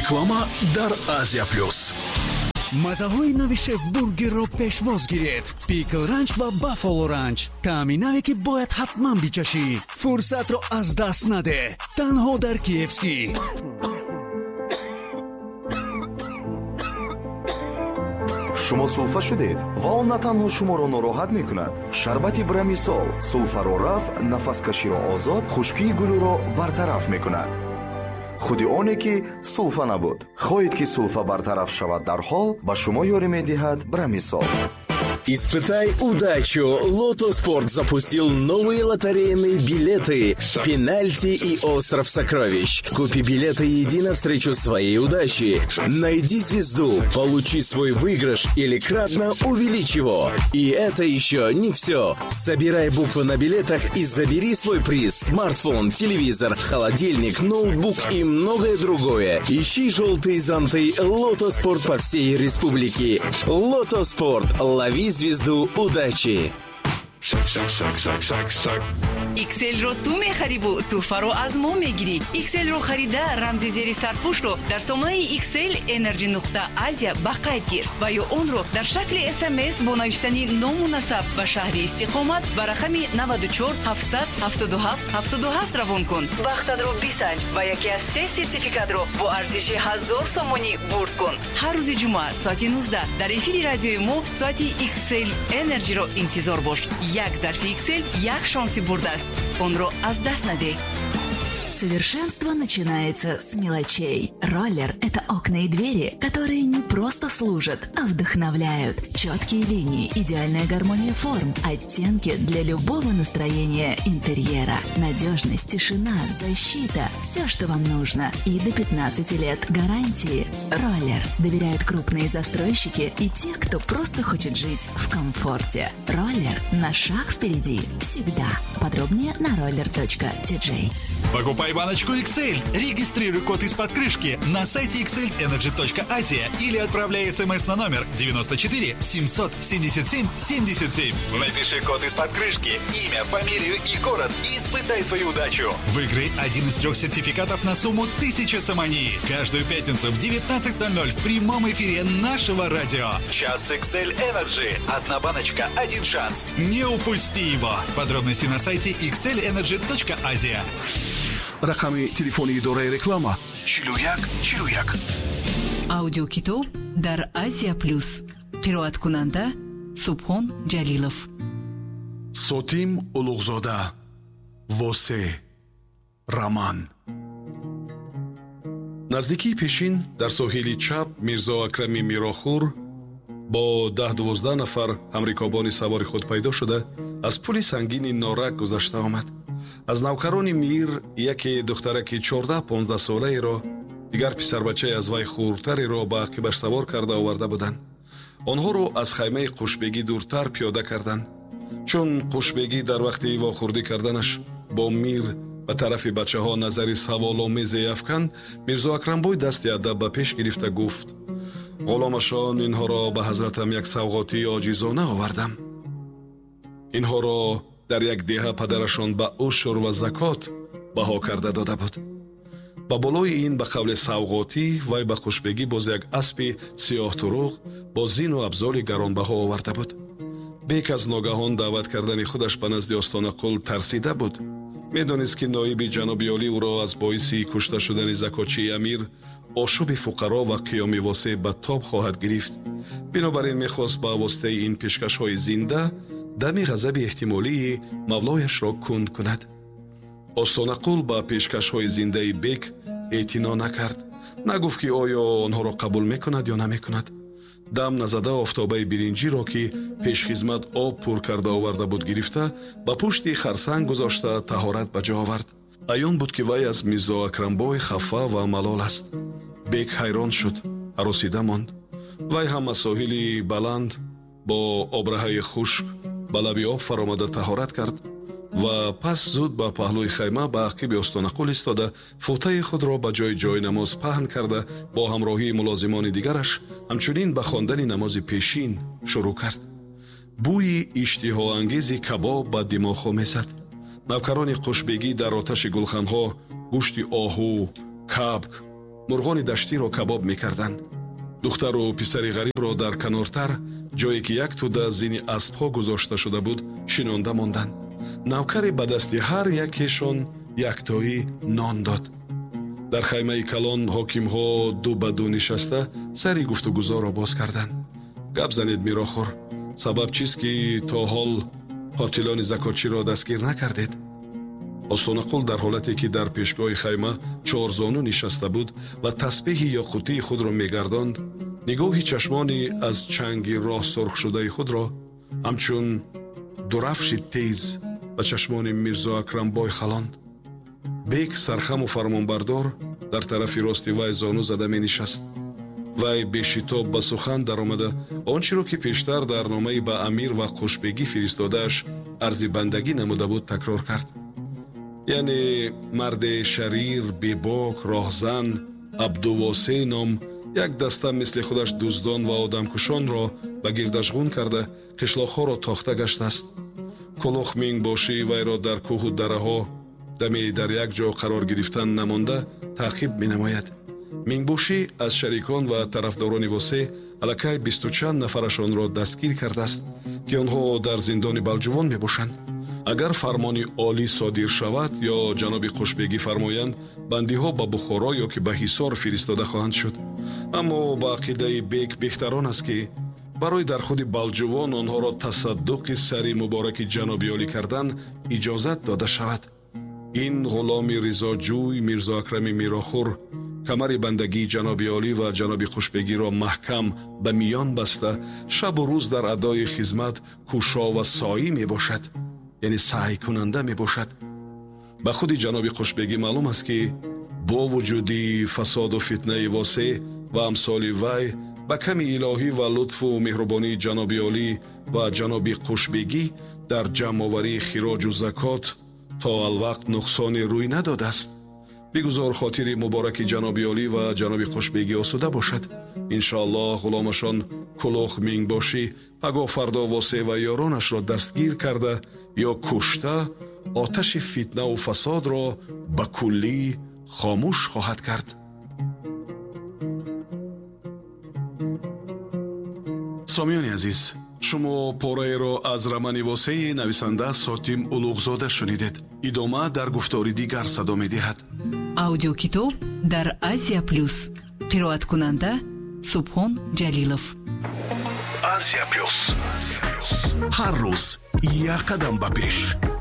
Реклама дар Азия Плюс. Мазаҳои нави Шеф Бургерро пешвоз гиред: Пикл Ранч ва Баффало Ранч. Таъми наве, ки бояд ҳатман бичашӣ. Фурсатро аз даст надеҳ, танҳо дар KFC. Шумо сулфа шудед ва он на танҳо шуморо нороҳат мекунад. Шарбати Брамисол сулфаро рафъ, нафаскаширо озод, хушкии гулӯро бартараф мекунад. Худи оне ки сулфа набуд. Хоҳед, ки сулфа бартараф шавад дарҳол, ба шумо ёрӣ медиҳад Брамисол. Испытай удачу! Лото Спорт запустил новые лотерейные билеты «Пенальти» и «Остров сокровищ». Купи билеты и иди навстречу своей удаче. Найди звезду, получи свой выигрыш или кратно увеличь его. И это еще не все. Собирай буквы на билетах и забери свой приз. Смартфон, телевизор, холодильник, ноутбук и многое другое. Ищи желтые зонты «Лото Спорт» по всей республике. «Лото Спорт». Лови звезду удачи! XL-ро ту мехариву тӯҳфаро аз мо мегирӣ. XL-ро харида, рамзи зери сарпӯшро дар сомонаи XL Energy нуқта Азия ба қайд гир ва ё онро дар шакли СМС бо навиштани ному насаб ба шаҳри истиқомат ба рақами 94 777 77 равон кун. Бахтатро бисанҷ ва яке аз се сертификатро бо арзиши 1000 сомонӣ бурд кун. Ҳар рӯзи ҷумъа соати 19 дар эфири радиои мо соати XL Energy-ро интизор бош. Як зарфи XL як шонси бурд аст, онро аз даст надеҳ. Совершенство начинается с мелочей. Роллер – это окна и двери, которые не просто служат, а вдохновляют. Четкие линии, идеальная гармония форм, оттенки для любого настроения интерьера. Надежность, тишина, защита – все, что вам нужно. И до 15 лет гарантии. Роллер доверяют крупные застройщики и те, кто просто хочет жить в комфорте. Роллер на шаг впереди всегда. Подробнее на roller.tj. Покупай баночку XL. Регистрируй код из-под крышки на сайте xlenergy.asia или отправляй смс на номер 94 777 77. Напиши код из-под крышки, имя, фамилию и город и испытай свою удачу. Выиграй один из трех сертификатов на сумму 1000 сомони. Каждую пятницу в 19.00 в прямом эфире нашего радио. Час XL Energy. Одна баночка, один шанс. Не упусти его. Подробности на сайте xlenergy.asia. Рақами телефони идораи реклама: 41 41. Аудиокитоб дар Азия Плюс. Қироаткунанда Субҳон Ҷалилов. Сотим Улуғзода, «Восе», роман. Наздикии Пешин, дар соҳили чап, Мирзо Акрами Мирохур бо 10-12 нафар ҳамрикобони савори худ пайдо шуда, аз пули сангини Норак гузашта омад. Аз навкарони мир яке духтараки 14-15 солаеро, дигар писарбачае аз вай хурдтареро ба ақибаш савор карда оварда буданд. Онҳоро аз хаймаи Қушбегӣ дуртар пиёда карданд, чун Қушбегӣ дар вақти вохӯрдӣ карданаш бо мир ба тарафи бачаҳо назари саволомезе афканд. Мирзо Акрамбой дасти адаб ба пеш гирифта гуфт: «Ғуломашон инҳоро ба ҳазратам як савғотии оҷизона овардам. Инҳоро дар як деҳа падарашон ба ушур ва закот баҳо карда дода буд». Ба болои ин, ба қавли савғотӣ, вай ба Хушбегӣ боз як аспи сиёҳтуруғ бо зину абзори гаронбаҳо оварда буд. Бек аз ногаҳон даъват кардани худаш ба назди Остонақул тарсида буд. Медонист, ки ноиби ҷаноби олӣ ӯро аз боиси кушта шудани закотчии амир, ошӯби фуқаро ва қиёми Восеъ ба тоб хоҳад гирифт. Бинобар ин мехост ба воситаи ин пешкашҳои зинда дами ғазаби эҳтимолии мавлояшро кунд кунад. Остонақул ба пешкашҳои зиндаи бек эътино накард, нагуфт, ки оё онҳоро қабул мекунад ё намекунад. Дам назада, офтобаи биринҷиро, ки пешхизмат об пур карда оварда буд, гирифта, ба пушти харсанг гузошта, таҳорат ба ҷо овард. Аён буд, ки вай аз Мирзо Акрамбой хафа ва малол аст. Бек ҳайрон шуд, ҳаросида монд. Вай ҳам аз соҳили баланд бо обраҳаи хушк ба лаби об фаромада, таҳорат кард ва пас зуд ба паҳлӯи хайма, ба ақиби Остонақул истода, футаи худро ба ҷои ҷойнамоз паҳн карда, бо ҳамроҳии мулозимони дигараш ҳамчунин ба хондани намози пешин шурӯъ кард. Бӯи иштиҳоангези кабоб ба димоғҳо мезад. Навкарони Қушбегӣ дар оташи гулханҳо гӯшти оҳу, кабк, Мурғони даштиро кабоб мекарданд. Духтару писари ғарибро дар канортар, ҷое ки як тӯда зини аспҳо гузошта шуда буд, шинонда монданд. Навкаре ба дасти ҳар якешон яктоӣ нон дод. Дар хаймаи калон ҳокимҳо ду ба ду нишаста сари гуфтугузорро боз карданд. Гап занед, Мирохӯр, сабаб чист, ки то ҳол қотилони закотчиро дастгир накардед? Остонақул дар ҳолате ки дар пешгоҳи хайма чорзону нишаста буд ва тасбеҳи ёқутии худро мегардонд, нигоҳи чашмони аз чанги роҳ сурхшудаи худро ҳамчун дурафши тез ба чашмони Мирзо Акрамбой халонд. Бек сархаму фармонбардор дар тарафи рости вай зону зада менишаст. Вай бешитоб ба сухан даромада он чиро ки пештар дар номаи ба амир ва Қушбегӣ фиристодааш арзи бандагӣ намуда буд, такрор кард. Яъне марде шарир, бебок, роҳзан, Абдувосе ном як даста мисли худаш дуздон ва одамкушонро ба гирдаш ғун карда қишлоқҳоро тохта гаштааст. Кулух мингбошӣ вайро дар кӯҳу дараҳо даме дар як ҷо қарор гирифтан намонда таъқиб менамояд. Мингбошӣ аз шарикон ва тарафдорони Восе аллакай бисту чанд нафарашонро дастгир кардааст, ки онҳо дар зиндони Балҷувон мебошанд. Агар фармони олӣ содир шавад ё ҷаноби Қушбегӣ фармоянд, бандиҳо ба Бухоро ё ки ба Ҳисор фиристода хоҳанд шуд. Аммо ба ақидаи бек беҳтарон аст, ки барои дар худи Балҷувон онҳоро тасаддуқи сари мубораки ҷаноби олӣ кардан иҷозат дода шавад. Ин ғуломи ризоҷӯй Мирзо Акрами Мирохӯр камари бандагии ҷаноби олӣ ва ҷаноби Қушбегиро маҳкам ба миён баста, шабу рӯз дар адои хизмат кӯшо ва соӣ мебошад, яъне саъйкунанда мебошад. Ба худи ҷаноби Қушбегӣ маълум аст, ки бо вуҷуди фасоду фитнаи Восе ва амсоли вай ба ками илоҳӣ ва лутфу меҳрубонии ҷаноби олӣ ва ҷаноби Қушбегӣ дар ҷамъоварии хироҷу закот то алвақт нуқсоне рӯй надодааст. Бигузор хотири мубораки ҷаноби олӣ ва ҷаноби Қушбегӣ осуда бошад. Иншоаллоҳ ғуломашон Кулух мингбошӣ пагоҳ фардо Восе ва ёронашро дастгир карда ё кушта оташи фитнаву фасодро ба куллӣ хомӯш хоҳад кард. Сомиёни азиз, шумо пораеро аз романи Восеи нависанда Сотим Улуғзода шунидед. Идома дар гуфтори дигар садо медиҳад. Аудиокитоб дар Азия Плюс. Қироаткунанда Субҳон Ҷалилов. Азия Плюс. Ҳар рӯз як қадам ба пеш.